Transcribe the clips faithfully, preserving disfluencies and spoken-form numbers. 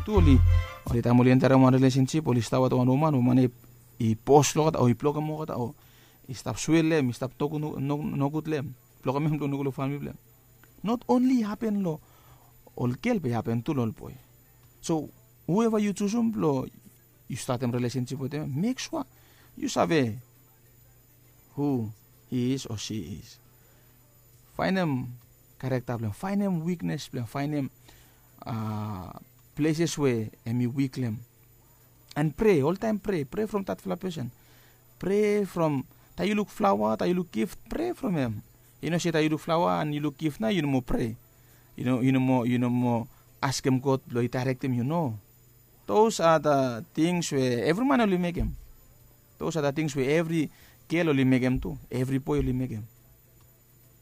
tu oli, oli taem oli enterem wan rilesensip oli stap wetem wan woman, woman ya i bos long olgeta o i blokem olgeta o i stap swea long hem, i stap toku nogud long hem, blokem hem blong nogud long famili blong hem. Not onli i hapen long ol gel be i hapen tu long ol boe. So hueva yu jusum blong yu statem rilesensip wetem hem, mek sua yu save hu hi is o si is. Faenem karekta blong hem, faenem wiknes blong hem, faenem pleses we hem i wik long hem. And prea, oltaem prea, prea from datfala pesen. Prea from taem yu luk flaoa, taem yu luk gif, prea from hem. Yu no se taem yu luk flaoa and yu luk gif nao yu no moa prea. Yu no yu no moa yu no moa askem God blong i daerektem yu, no. Those are the things we evri man oli mekem. Those are the things we evri gel oli mekem tu, evri boe oli mekem.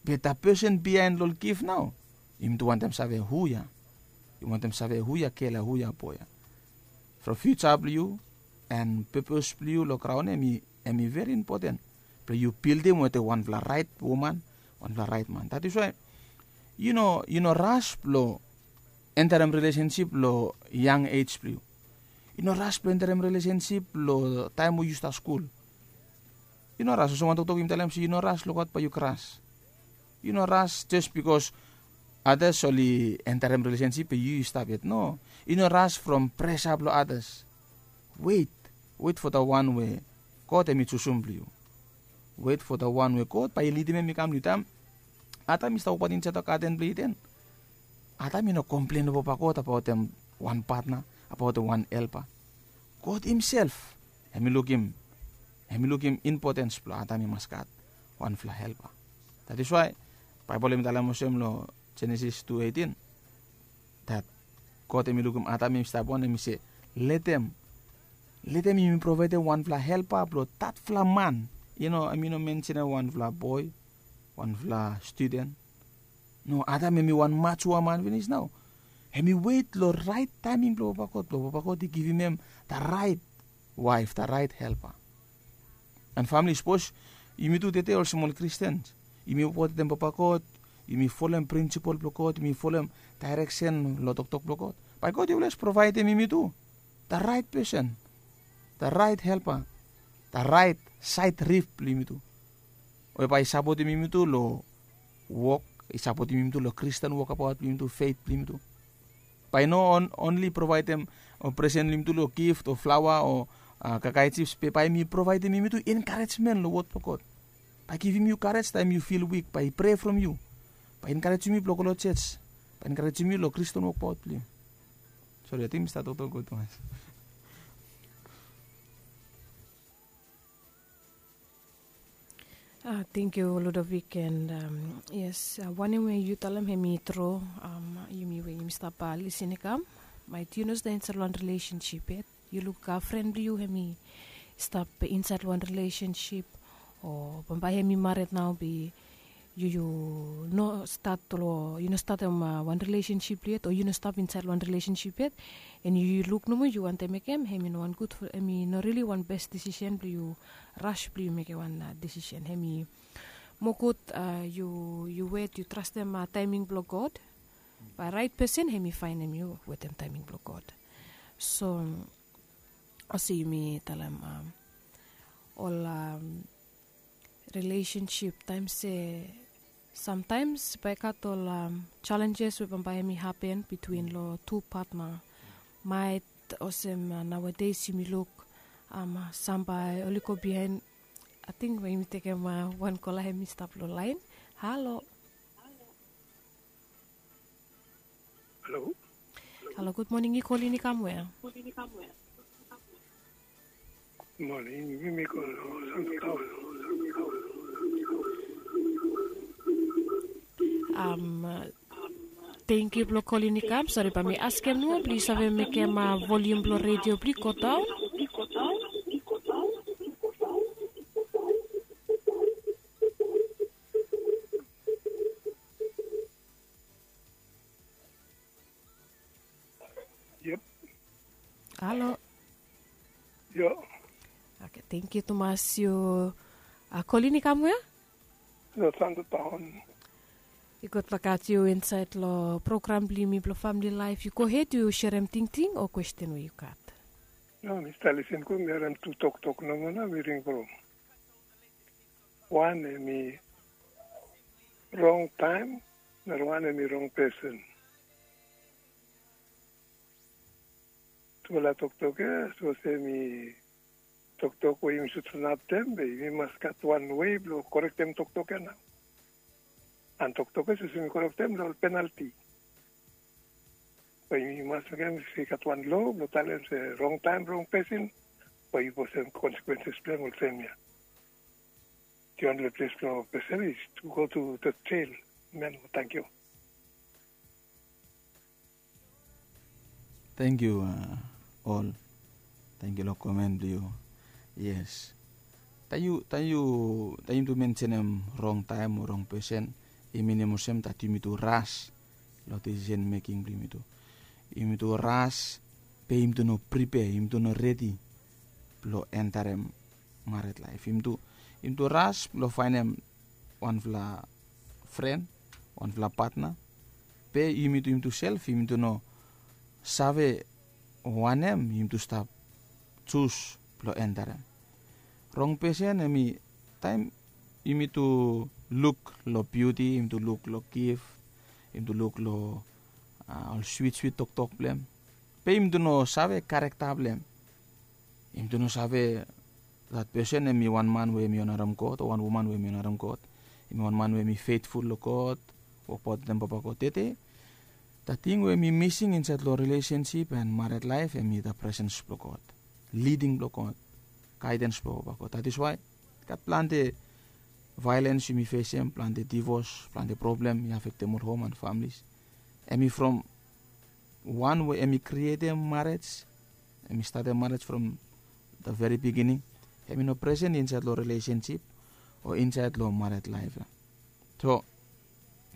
Be da pesen biaen long ol gif nao, yumi tu wantem save hu ya. Yumi wantem save hu ya gel ya, hu ya boe ya. From fiuja blong yu and pepes blong yu long graon ya, hem i veri impoten blong yu bildim wetem wanfala raet woman, wanfala raet man. That is why yu no yu no ras blong enterem rilesensip long yang ej blong yu. Yu no ras blong enterem rilesensip long taem we yu stap skul. Yu no ras, olsem wan toktok yumi talem se yu no ras long God bae yu kras. Yu no ras jes bikos adas oli enterem rilesensip be yu yu stap yet, no. Yu no ras from presa blong adas. Wet, wet fo da wan we God hem i jusum blong yu. Wet fo da wan we God bae i lidim hem i kam long yu. Taem Adam i stap wokbaot insaed long gaden blong Iden, Adam i no komplen long papa God abaotem wan patna, abaotem wan helpa. God himself hem i lukim, hem i lukim impotens blong Adam i mas gat wanfala helpa. That is why Baebol hem i talem olsem long Jenesis tu eitin, that God hem i lukim Adam hem i stap wan, hem i se, letem, letem yumi provaedem wanfala helpa blong datfala man. Yu no, hem i no mensenem wanfala boe, wanfala studen. No, Adam hem i wan majua man finis nao. Hem i wet long raet taeming blong papa God, blong papa God i givim hem da raet waef, da raet helpa. And famili, sapos yumi tu tede olsem ol Kristen, yumi wok wetem papa God, yumi folem prinsipol blong God, yumi folem daereksen long toktok blong God, bae God i oles provaedem yumi tu da raet pesen, da raet helpa, da raet saed rif blong yumi tu. We bae i sapotem yumi tu long wok, i sapotem yumi tu long Kristen wokabaot blong yumi tu, fet blong yumi tu. Bae i no onli provaedem o presen long yumi tu long gift o flaoa o kakae jips, be bae hem i provaedem yumi tu enkarejmen long wod blong God. Bae i givim yu karej taem yu fil wik, bae i prea from yu, bae i enkarejem yu blong go long joj, bae i enkarejem yu long Kristen wokbaot blong yu. Sori, ating mi stap toktok gud tumas. Tengkiu Ludovik, and yes, wanem we yu talem hem i tru. Yumi we yumi stap lisin i kam, maet yu no stap insaed long wan rilesensip yet, yu luk fren blong yu hem i stap insaed long wan rilesensip, o bambae hem i mared nao, be yu yu no stat long yu no statem wan rilesensip yet, o yu no stap insaed long wan rilesensip yet, and yu luk nomo yu wantem mekem, hem i no wan gud, hem i no rili wan bes disisen blong yu ras blong yu mekem wan disisen. Hem i moa gud yu yu wet, yu trastem taeming blong God. Bae raet pesen hem i faenem yu wetem taeming blong God. So olsem yumi talem, ol rilesensip taem se samtaems bae i gat ol jalenjes we bambae hem i hapen bitwin long tu patna. Maet olsem naoades yumi luk sam bae oli go biaen. Ating bae yumi tekem wan kola hem i stap long laen. Halo. Halo. Halo, gud moning. Yu kolin i kam wea? Moning, mi mi go long Santo Taon. Tengkiu blong kolin i kam. Sori, bae mi askem nomo blong yu save mekem volium blong redio blong yu go daon. Yep. Halo. Yo. Oke, tengkiu tumas. Yu kolin i kam wea? Lo Santo Taon. I gud blong gat yu insaed long program blong yumi blong famili laef. Yu gohed, yu serem tingting o kwesten we yu gat. No, mi stap lisin gud. Mi harem tu toktok nomo nao mi ring from. Wan hemi rong taem, nara wan hemi rong pesen. Tufala toktok ya sapos hemi toktok we yumi sud sanap dem, be yumi mas gat wan wei blong korektem toktok ya nao. An toktok ya sapos yumi korektem long ol penalti. Be yumi mas mekem se i gat wan loa blong talem se rong taem rong pesen, be yu bosem konsekwenses blong hem olsem ya. Di wanpela ples blong pesen is tu go tu the jail. Amen. Tangkiu. Tangkiu, ol. Tangkiu long komen blong yu. Yes. Taem yu taem yu taem yumi tu mensenem rong taem o rong pesen, i minim olsem dat yumi tu ras long disisen meking blong yumi tu. Yumi tu ras, be yumi tu no pripea, yumi tu no redi blong entarem mared laef. Yumi tu yumi tu ras blong faenem wanfala fren, wanfala patna, be yumi tu yumi tu sel yumi tu no save wanem yumi tu stap jus blong entarem. Rong pesen hemi taem yumi tu luk long biuti, yumi tu luk long gif, yumi tu luk long ol swit swit toktok blong hem, be yumi tu no save karekta blong hem. Yumi tu no save dat pesen hemi wan man we hemi onarem God o wan woman we hemi onarem God, hemi wan man we hemi fetful long God, wokbaot wetem Papa God. Tede dat ting we hemi mising insaed long rilesensip an mared laef hemi dat presens blong God, liding blong God, gaedens blong Papa God. Dat is wae gat plante vaelens yumi fesem, plante divos, plante problem i afektem ol hom an familis. Hemi from wan we hemi krietem marej, hemi statem marej from the very beginning, hemi no presen insaed long rilesensip o insaed long mared laef ya. So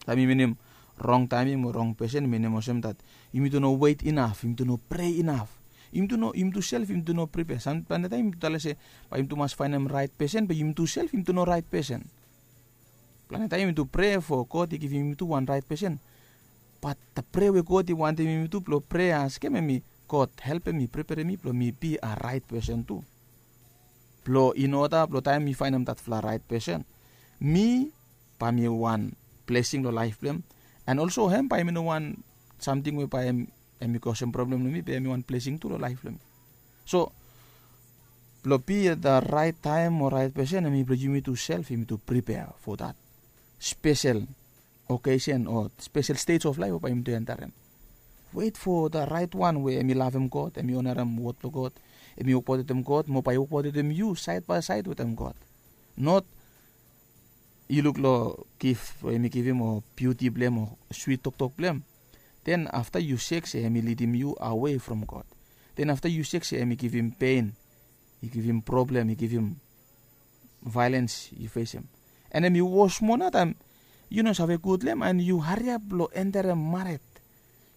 taem yumi minim rong taeming o rong pesen, minim olsem dat yumi tu no wet inaf, yumi tu no prea inaf. Yumi tu no yumi tu sel yumi tu no pripea. Sam plante taem yumi tu talem se bae yumi tu mas faenem raet pesen, be yumi tu sel yumi tu no raet pesen. Plante taem yumi tu prea fo God i givim yumi tu wan raet pesen. Bat da prea we God i wantem yumi tu blong prea askem hemi, God, helpem mi, preperem mi blong mi bi a raet pesen tu, blong in oda blong taem mi faenem datfala raet pesen, mi bae mi wan blesing long laef blong hem. An olso hem bae hemi no wan samting we bae hemi kosem problem long mi, be hemi wan blesing tu long laef blong mi. So blong bi da raet taem o raet pesen, hemi blong yumi tu sel yumi tu pripea fo dat spesel okesen o spesel stej of laef we bae yumi tu entarem. Wet fo da raet wan we hemi lavem God, hemi onarem wod blong God, hemi wokbaot wetem God mo bae i wokbaot wetem yu saed bae saed wetem God. Not yu luk long gif we hemi givim o biuti blong hem o swit toktok blong hem, den afta yu sek se hemi lidim yu awe from God. Den afta yu sek se hemi givim pen, i givim problem, i givim vaelens yu fesem. An hemi wos moa nao taem yu no save gud long hem an yu hariap blong entarem mared.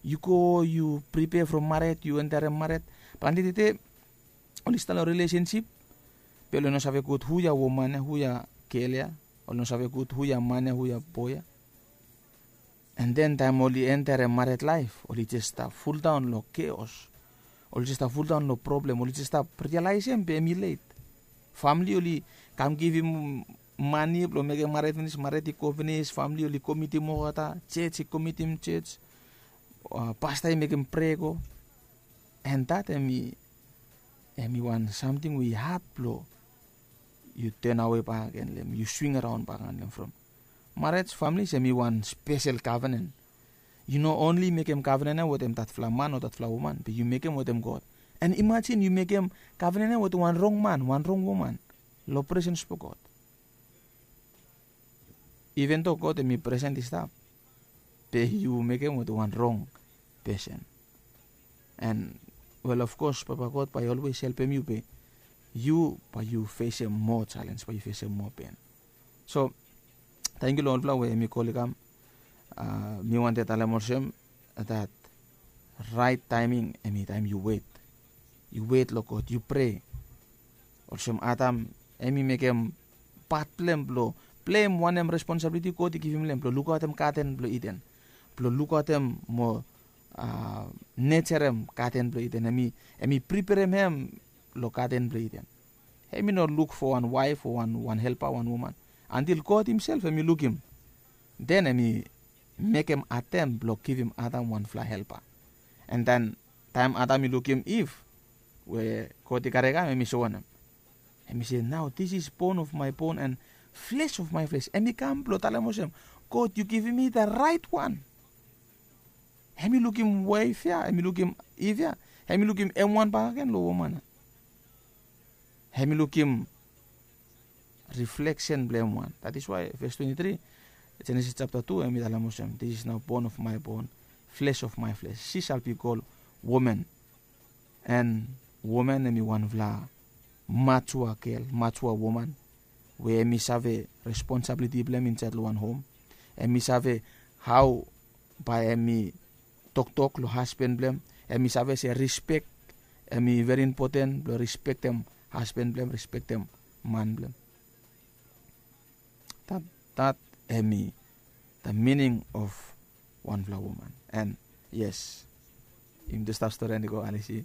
Yu go yu pripea from mared, yu entarem mared. Plante tede oli stap long rilesensip, be oli no save gud hu ya woman ya, hu ya gel ya. Oli no save gud hu ya man ya, hu ya boe ya. An den taem oli entarem mared laef, oli jes stap fuldaon long keos. Oli jes stap fuldaon long problem, oli jes stap rialaesem be hemi let. Famili oli kam givim mane blong mekem mared finis, mared i go finis, famili oli komitim olgeta, jej i komitim jej, pasta i mekem prea i go. An dat hemi hemi wan samting we i had blong yu tenawe bakegen long hem, yu swing araon bakegen long hem from. Marej, familis, hemi wan spesel kavenen. Yu no onli mekem kavenen ya wetem datfala man o datfala woman, be yu mekem wetem God. An imajin yu mekem kavenen ya wetem wan rong man, wan rong woman long presens blong God. Iven do God hemi presen i stap, be yu mekem wetem wan rong pesen. An wel, of kos, Papa God bae i olwes helpem yu, be yu bae yu fesem moa jalenj, bae yu fesem moa pen. So tangkiu long olfala we hemi kol i kam. Mi wantem talem olsem dat raet taeming hemi taem yu wet. Yu wet long God, yu prea. Olsem Adam, hemi mekem pat blong hem blong blem wanem responsabliti God i givim long hem blong lukaotem gaden blong Iden, blong lukaotem mo nejerem gaden blong Iden. Hem i priperem hem long gaden blong Iden. Hem i no luk fo wan waef o wan helpa, wan woman, antil God himsel hem i lukim. Den hem i mekem Adam blong givim Adam wanfala helpa. An den taem Adam i lukim Iv we God i karem i kam, hem i soem wanem? Hem i se, nao this is bone of my bone and flesh of my flesh. Hem i kam blong talem olsem, God, yu givim mi the right one. Hem i lukim waef ya, hem i lukim Iv ya, hem i lukim hem wan bakegen long woman ya. Hem i lukim rifleksen blong hem wan. That is why ves twenti tri, Jenesis japta tu, hem i talem olsem, this is now bone of my bone, flesh of my flesh, she shall be called woman. An woman hem i wanfala matua gel, matua woman, we hem i save responsabliti blong hem insaed long wan hom. Hem i save hao bae hem i toktok long hasban blong hem. Hem i save se rispek hem i veri impoten blong rispektem hasban blong hem, rispektem man blong hem. That, that hem i the meaning of wanfala woman. An yes, yumi tu stap stori an i go, Alisi.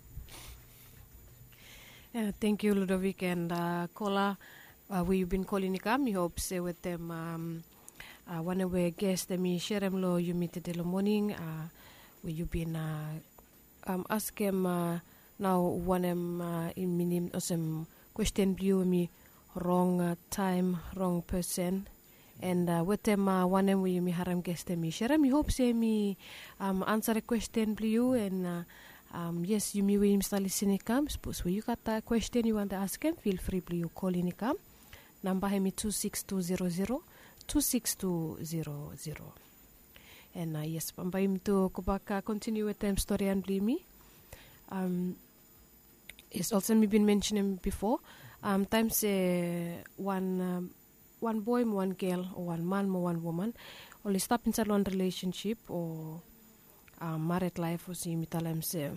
Thank you, Ludovic, and kola we yu bin kolin i kam. Mi hop se wetem wanem we ges hem i serem long yumi tede long moning, we yu bin askem nao wanem i minim olsem kwesten blong yu hem i rong taem, rong pesen. An wetem wanem we yumi harem ges hem i serem, mi hop se hem i ansa kwesten blong yu. An yes, yumi we yumi stap lisin i kam, sapos we yu gat kwesten yu wantem askem, fil fri blong yu kolin i kam. Namba hem i tu sikis tu zero zero, tu sikis tu zero zero. An yes, bambae yumi tu gobak kontiniu wetem storian blong yumi. Yes, olsem mi bin mensenem bifo, taem se wan boe mo wan gel o wan man mo wan woman oli stap insaed long wan rilesensip o mared laef, olsem yumi talem se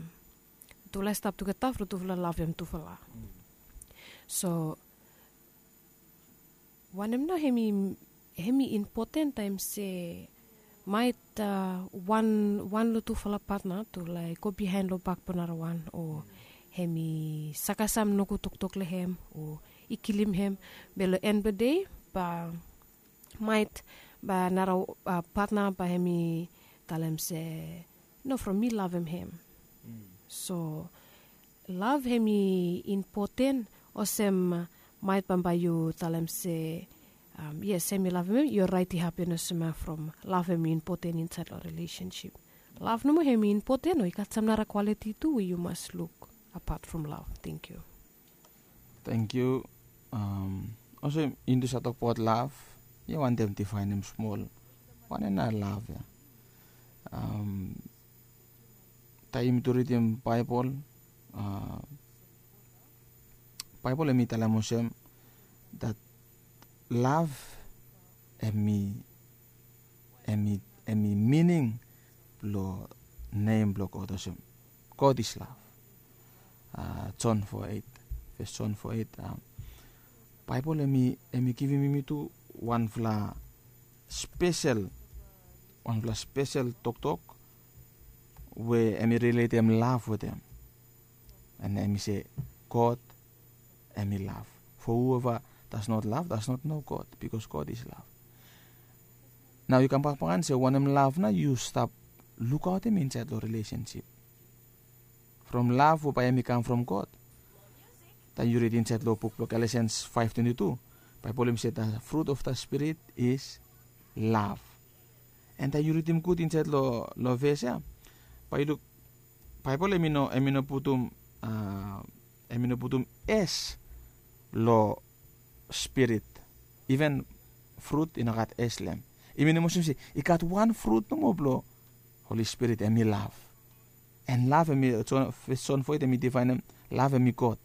tufala i stap tugeta from tufala lavem tufala. So wanem nao hem i impoten taem se maet wan long tufala patna tu laek go biaen long bak blong narawan, o hem i sakasam nogud toktok long hem o i kilim hem, be long en blong dei bae maet bae nara patna bae hem i talem se no, from mi lavem hem. So lav hem i impoten, olsem maet bambae yu talem se yes, hem i lavem hem, yu raet i hapen olsem from lav hem i impoten insaed long rilesensip. Lav nomo hem i impoten o i gat sam nara kwaliti tu we yu mas luk apat from lav? Thank you. Thank you. Olsem yumi tu save tokbaot lav, yu wantem difaenem smol wanem nao lav ya. Taem yumi tu ridim Baebol, Baebol hem i talem olsem that lav hem i hem i mining blong nem blong God olsem God is love. Jon fo eit, ves Jon fo eit. Baebol hem i givim yumi tu wanfala spesel, wanfala spesel toktok we hem i riletem lav wetem. An hem i se God hem i lav. For whoever does not love does not know God, because God is love. Nao yu kambak bakan se wanem lav nao yu stap lukaotem insaed long rilesensip from lav we bae hem i kam from God? Taem yu rid insaed long buk blong Galesians faef twenti tu, Baebol hem i se the fruit of the Spirit is love. An taem yu ridim gud insaed long ves ya, bae yu luk Baebol hem i no putum hem i no putum es long spirit. Iven frut i no gat es long hem. I minim olsem se i gat wan frut nomo blong Holi Spirit, hem i lav. An lav hem i, Jon, fes Jon fo eit hem i difaenem lav hem i God.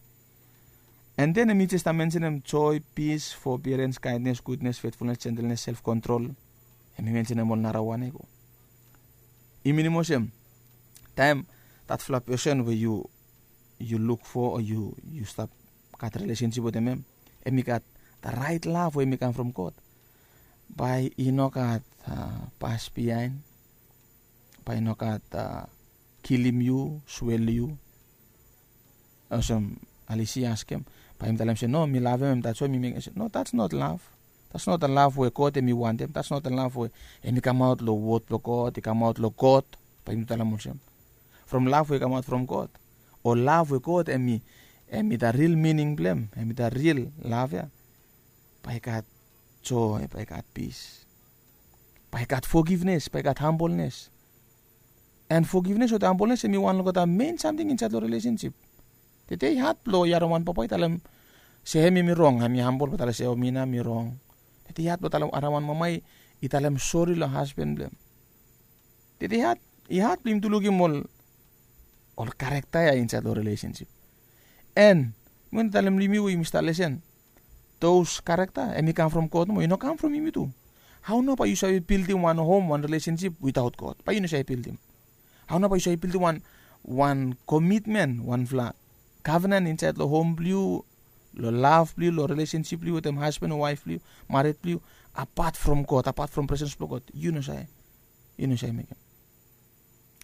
An den hem i jes stap mensenem joe, pis, fobiarens, kaendnes, gudnes, fetfulnes, jentelnes, self kontrol. Hem i mensenem ol narawan ya i go. I minim olsem taem datfala pesen we yu yu luk fo o yu yu stap gat rilesensip wetem hem, hem i gat da raet lav we hem i kam from God. Bae i no gat pas biaen, bae i no gat kilim yu, swel yu. Olsem Alisi i askem, bae yumi talem se no, mi lavem hem, that's why mi mekem se no, that's not love. That's not the love we God hem i wantem. That's not the love we hem i kamaot long wod blong God, i kamaot long God. Bae yumi talem olsem, from love we i kamaot from God, o love we God hem i, hem i the real meaning blong hem, hem i the real love ya, bae i gat joy, bae i gat pis, bae i gat forgiveness, bae i gat humbleness. And forgiveness wetem humbleness hem i wan long olgeta main samting insaed long relationship. Tede i had blong yaraman papa i talem se hem hem i rong, hem i hambol blong talem se o, mi nao mi rong. Tede i had blong talem yaraman mama i talem sori long hasban blong hem. Tede i had, i had blong yumi tu lukim ol, ol karekta ya insaed long relationship. And mi wantem talem long yumi we yumi stap lesen, those character hem i kam from God nomo, i no kam from yumi tu. Hao nao bae yu save bildim wan hom, wan relationship without God? Bae yu no save bildim. Hao nao bae yu save bildim wan, wan commitment, wanfala covenant insaed long hom blong yu, long love blong yu, long relationship blong yu wetem hasban o waef blong yu, mared blong yu, apart from God, apart from presence blong God? Yu no save. Yu no save mekem.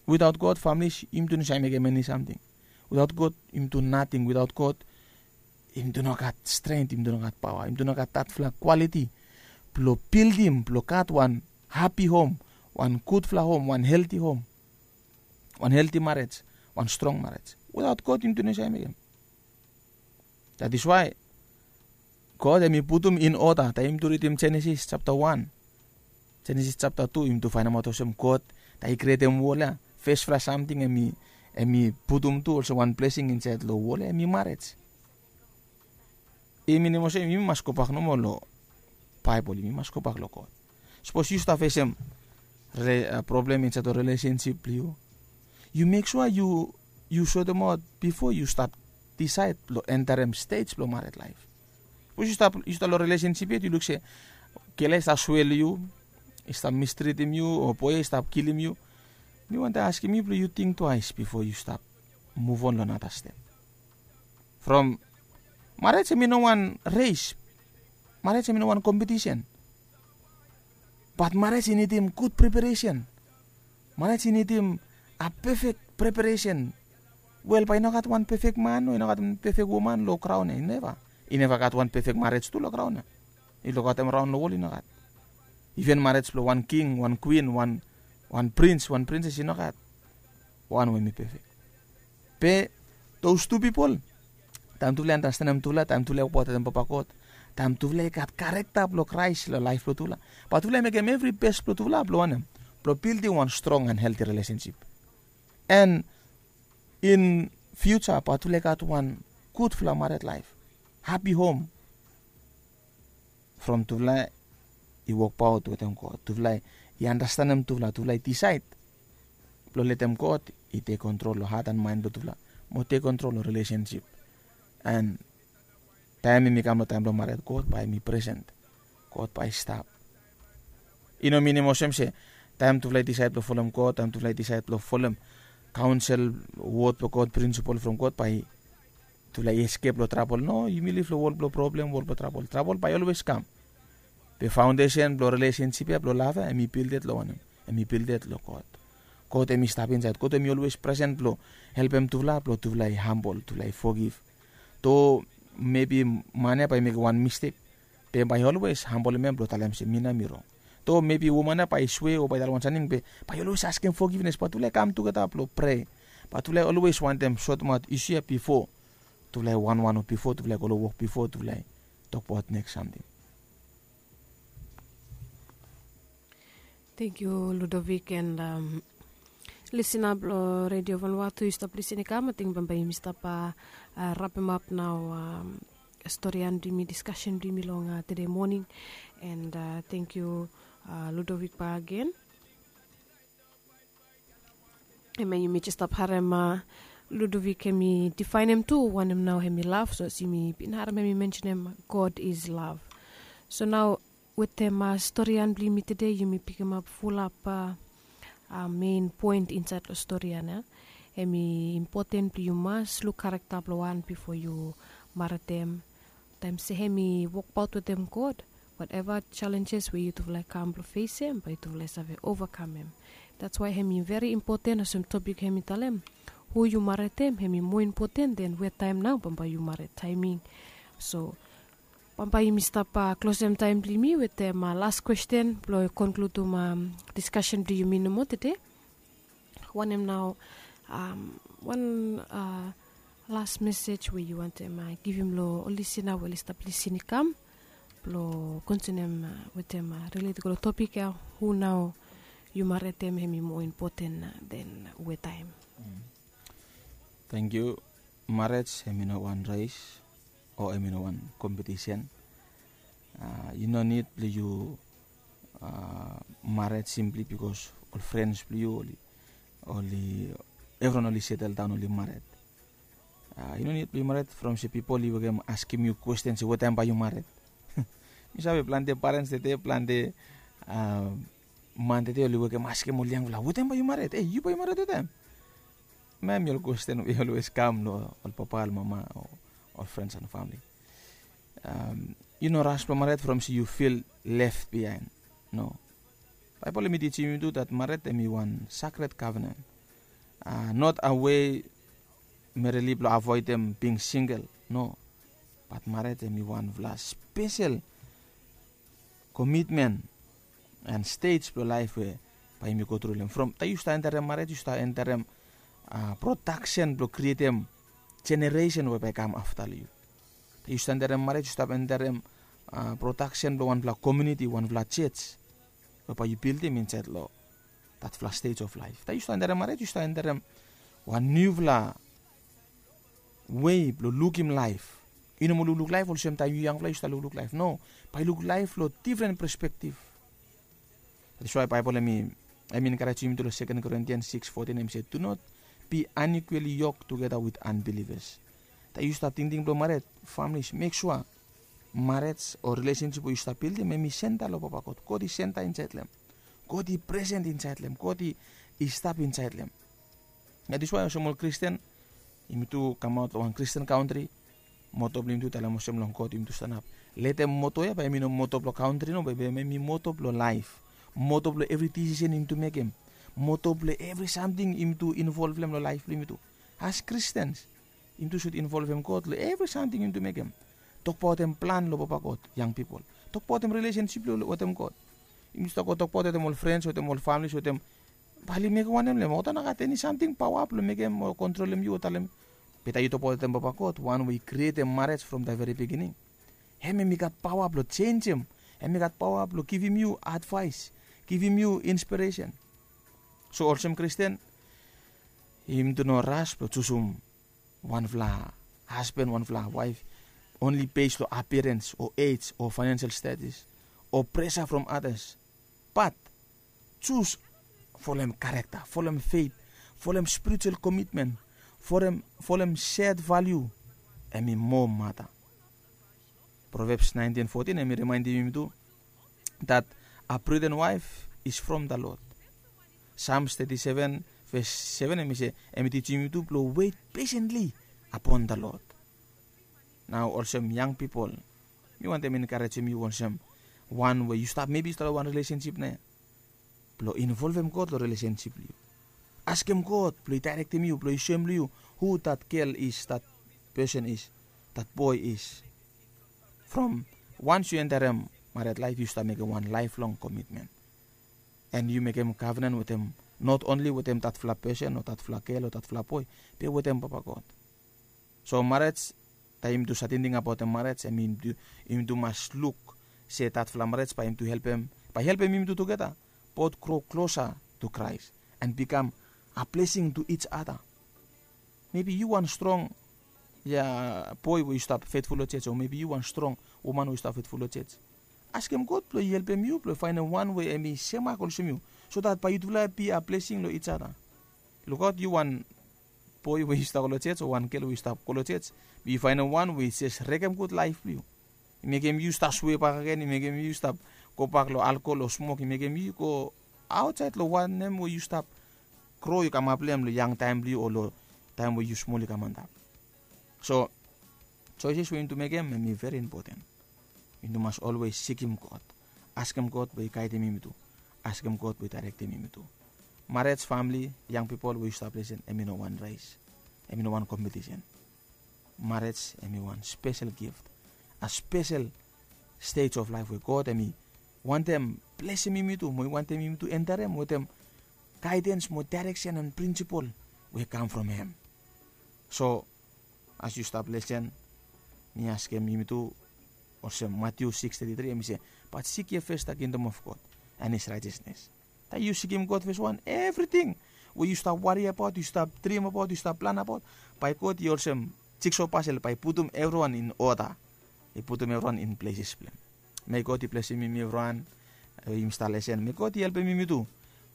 Without God, families, yumi tu no save mekem eni samting. Without God yumi tu nating. Without God yumi tu no gat strength, yumi tu no gat paoa, yumi tu no gat datfala quality blong bildim, blong gat wan happy home, wan gudfala home, wan healthy home, wan healthy marriage, wan strong marriage. Without God yumi tu no save mekem. That is why God hem i putum in order. Taem yumi tu ridim Genesis chapter wan, Genesis chapter two, yumi tu faenemaot olsem God, taem i krietem wol ya, fesfala samting hem i, hem i putum tu olsem wan blessing insaed long wol ya, hem i marriage. I minim olsem yumi mas gobak nomo long Baebol, yumi mas gobak long God. Sapos yu stap fesem problem insaed long relationship blong yu, yu mek sua yu, yu sotemaot bifo yu stap disaed blong enterem stej blong mared laef. Sapos yu stap, yu stap long relationship yet, yu luk se gel ya i stap swel yu, i stap mistritim yu, o boe ya i stap kilim yu, mi wantem askem yu blong yu ting twaes bifo yu stap muvon long nara step. From, marej hem i no wan res. Marej hem i no wan kompetisen. Bat marej i nidim gud preparesen. Marej i nidim a pefek preparesen. Wel, bae i no gat wan pefek man o i no gat wan pefek woman long graon ya, i neva. I neva gat wan pefek marej tu long graon ya. I lukaotem raon long wol, i no gat. Iven marej blong wan king, wan kwin, wan, wan prins, wan prinses, i no gat wan we hem i pefek. Be those two pipol, taem tufala i andastanem tufala, taem tufala i wokbaot wetem Papa God, taem tufala i gat karekta blong Kraes long laef blong tufala, bae tufala i mekem evri bes blong tufala blong wanem? Blong bildim wan strong and healthy relationship. And in future bae tufala i gat wan gudfala mared laef, happy home. From tufala i wokbaot wetem God, tufala i andastanem tufala, tufala i disaed blong letem God i tek kontrol long hat and maen blong tufala, mo tek kontrol long relationship. And taem hem i kam long taem blong mared, God bae hem i presen, God bae i stap. I no minim olsem se taem tufala i disaed blong folem God, taem tufala i disaed blong folem kaonsel, wod blong God, prinsipol from God, bae tufala i eskep long trabol. No, yumi liv long wol blong problem, wol blong trabol. Trabol bae i olwes kam. Be faondesen blong relesensip ya, blong lav ya, hem i bilded long wanem? Hem i bilded long God. God hem i stap insaed. God hem i olwes presen blong helpem tufala, blong tufala i hambol, tufala i fogiv. Do mebi man ya bae i mekem wan mistek, be bae i olwes hambolem hem blong talem se mi nao mi rong. Do mebi woman ya bae i swe o bae i talem wan samting, be bae i olwes askem fogivnes. Bae tufala i kam tugeta blong prea. Bae tufala i olwes wantem sotemaot isu ya bifo tufala i wanwan o bifo tufala i go long wok, bifo tufala i tokbaot neks samting. Thank you, Ludovic, and um, listener blong Radio Vanuatu, yu stap listen i kam, ating bambae yumi stap uh, uh, wrap him up nao, um, storian blong yumi, discussion blong yumi long uh, today morning. And uh, thank you, uh, Ludovic, back again. Hemia yumi jes stap harem, uh, Ludovic hemi difaenem tu wanem nao hemi lav. So as yumi bin harem hemi mensenem God is love. So nao wetem, uh, storian blong yumi tede, yumi pikimap fulap, uh, uh, mein poen insaed long storian ya. Hemi impoten blong yu mas luk karekta blong wan bifo yu maredem. Taem se hemi wokbaot wetem God, Whatever challenges we yutufala i kam blong fesem, bae yutufala i save overcome em. That's why hemi very important, olsem topik hemi talem, hu yu maretem hemi more important than we taem nao bambae yu maret, timing. So bambae yumi stap klosem taem blong yumi wetem last question blong konkludum diskasen blong yumi nomo tede. Wanem nao wan last message we yu wantem givim long ol lisina we oli stap lisin i kam blong kontinuem wetem, rilet i go long topik ya, hu nao yu maretem hemi more important than we taem. Thank you. Marriage hemi no wan race o hemi no wan competition. I no nid blong yu maret simply bikos ol frens blong yu oli, evriwan oli setel daon oli maret. I no nid blong yu maret from se pipol i wekem askem yu kwesten se wetaem bae yu maret. Mi save plante parens tede, plante man tede oli wekem askem ol yangfala, wetaem bae yu maret? E, yu bae yu maret wetaem? Mami ol kwesten we i olwes kam long ol papa, ol mama o ol frens and famili. Yu no ras blong maret from se yu fil left bihaen. No. Baebol hemi tijim yu tu dat maret hemi wan sakred kavenen. Not a wei mereli blong avoedem bing singel. No. Bat maret hemi wanfala spesel komitmen and stej blong laef we bae yumi go tru long hem. From taem yu stap enterem maret yu stap enterem prodaksen blong krietem jeneresen we bae i kam afta long yu. Taem yu stap enterem maret yu stap enterem prodaksen blong wanfala komuniti, wanfala jej we bae yu bildim insaed long datfala stej of laef. Taem yu stap enterem maret yu stap enterem wan niufala wei blong lukim laef. I no moa lukluk laef olsem taem yu yangfala yu stap lukluk laef. No, bae yu luk laef long difren perspektif. That is why Baebol hemi enkarejim yumi tu long Second Corinthians six fourteen, hemi se, do not be unequally yoked together with unbelievers. Taem yu stap tingting blong maret, families, mek sua maret o rilesensip we yu stap bildim hemi senta long Papa God. God i senta insaed long hem. God i presen insaed long hem. God i stap insaed long hem. That is why olsem ol Kristen, yumi tu kamaot long wan Kristen kantri, moto blong yumi tu talem olsem long God yumi tu stanap. Letem moto ya bae hemi no moto blong kantri, no, bae hemi moto blong laef. Moto blong evri disisen yumi tu mekem. Moto blong evri samting yumi tu involvem long laef blong yumi tu. As Kristens, yumi tu sud involvem God long evri samting yumi tu mekem. Tokbaotem plan long Papa God, yang pipol. Tokbaotem rilesensip long wetem God. Yumi tu stap go tokbaot wetem ol frens, wetem ol familis, wetem bae oli mekem wanem long hem? Olgeta no gat eni samting paoa blong mekem o kontrolem yu o talem. Be taem yu tokbaot wetem Papa God, wan we i krietem maret from the very beginning, hem hemi gat paoa blong jenjem. Hemi gat paoa blong givim yu advaes, givim yu inspiresen. So olsem Kristen, yumi tu no ras blong jusum wanfala hasban, wanfala waef only bes long appearance o ej o financial status o pressure from others. But jus folem character, folem faith, folem spiritual commitment, folem, folem shared value, hemi moa mata. Proverbs nineteen fourteen hemi rimaendim yumi tu that a prudent wife is from the Lord. Psalms thirty-seven verse seven hemi se, hemi tijim yumi tu blong wait patiently upon the Lord. Nao olsem yang pipol, mi wantem enkarejim yu olsem wan we yu stap, maybe yu stap long wan rilesensip nao ya, blong involvem God long rilesensip blong yu. Askem God blong i daerektem yu, blong i soem long yu hu that girl is, that person is, that boy is. From once yu enterem maret laef yu stap mekem wan laeflong komitmen. And yu mekem kavenen wetem, not only wetem datfala person o datfala girl o datfala boy, be wetem Papa God. So maret, taem yumi tu save tingting abaotem maret, hemi yumi tu mas luk se datfala maret bae yumi tu helpem, bae helpem yumi tu tugeta both grow closer to Christ and become a blessing to each other. Maybe yu wan strong, ya, boy we yu stap fetful long jej, o maybe yu wan strong woman we yu stap fetful long jej. Askem God blong i helpem yu blong faenem wan we hemi semak olsem yu, so that bae yutufala be a blessing long each other. Lukaot, yu wan boy we yu stap go long jej o wan girl we yu stap go long jej, be yu faenem wan we i jes rekemgud laef blong yu. I mekem yu stap swe bakegen, i mekem yu stap gobak long alkol o smok, i mekem yu go aotsaed long wanem we yu stap gro, yu kamap long hem long yangtaem blong yu o long taem we yu smol yu kam antap. So choices we yumi tu mekem hemi very important. Yumi tu mas olwes sikim God, askem God blong i gaidem yumi tu, askem God blong i daerektem yumi tu. Marej, famili, yang pipol we yu stap lesen, em i no wan res, em i no wan kompetisen. Marej em i wan spesel gift, a spesel stej of laef we God em i wantem blesem yumi tu mo i wantem yumi tu enterem wetem gaidens mo daereksen an prinsipol we i kam from hem. So as yu stap lesen, mi askem yumi tu olsem Matiu siks teti tri, em i se, bat sik ye fes da kingdom of God an his raejasnes. Taem yu sikim God fes wan, evriting we yu stap wari abaot, yu stap drim abaot, yu stap plan abaot, bae God i olsem jikso pasel, bae i putum evriwan in oda, i putum evriwan in pleses blong hem. Me God i blesem yumi evriwan, yumi stap lesen, me God i helpem yumi tu.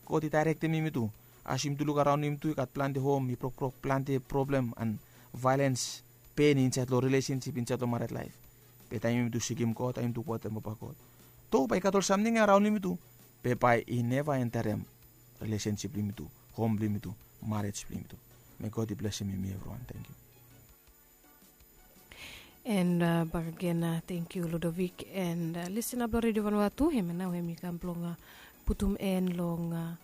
God i daerektem yumi tu. As yumi tu luk araon yumi tu, i gat plante hom i brokbrok, plante problem an vaelens, pen insaed long rilesensip, insaed long mared laef. Be taem yumi tu sikim God, taem yumi tu wetem papa God, do bae i gat ol samting ya araon yumi tu, be bae i neva enterem rilesensip blong yumi tu, hom blong yumi tu, marej blong yumi tu. Me God i blesem yumi evriwan. Tangkiu. And uh, bakagen uh, thank you Ludovic and uh, listener blong Radio Vanua tu, hem nao hem i kam blong uh, putum en long uh,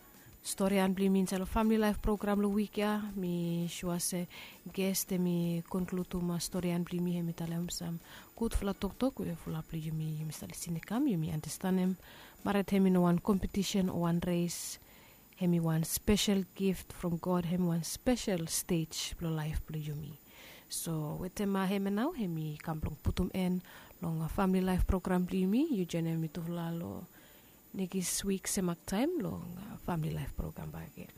storian blong yumi insait long Family Life program long wik ya. Mi sua se guest hem i konkludim uh, storian blong yumi, hem i talem sam gudfala toktok we fulap blong yumi, yumi stap lisin i kam, yumi andastanem maret hem i no wan kompetisen o wan res. Hem i wan spesel gift from God, hem i wan spesel stej blong laef blong yumi. So wetem uh, hem nao hem i kam blong putum en long uh, Family Life program blong yumi. Yu joenem mitufala long nekis wik semak taem long uh, Family Life program bakagen.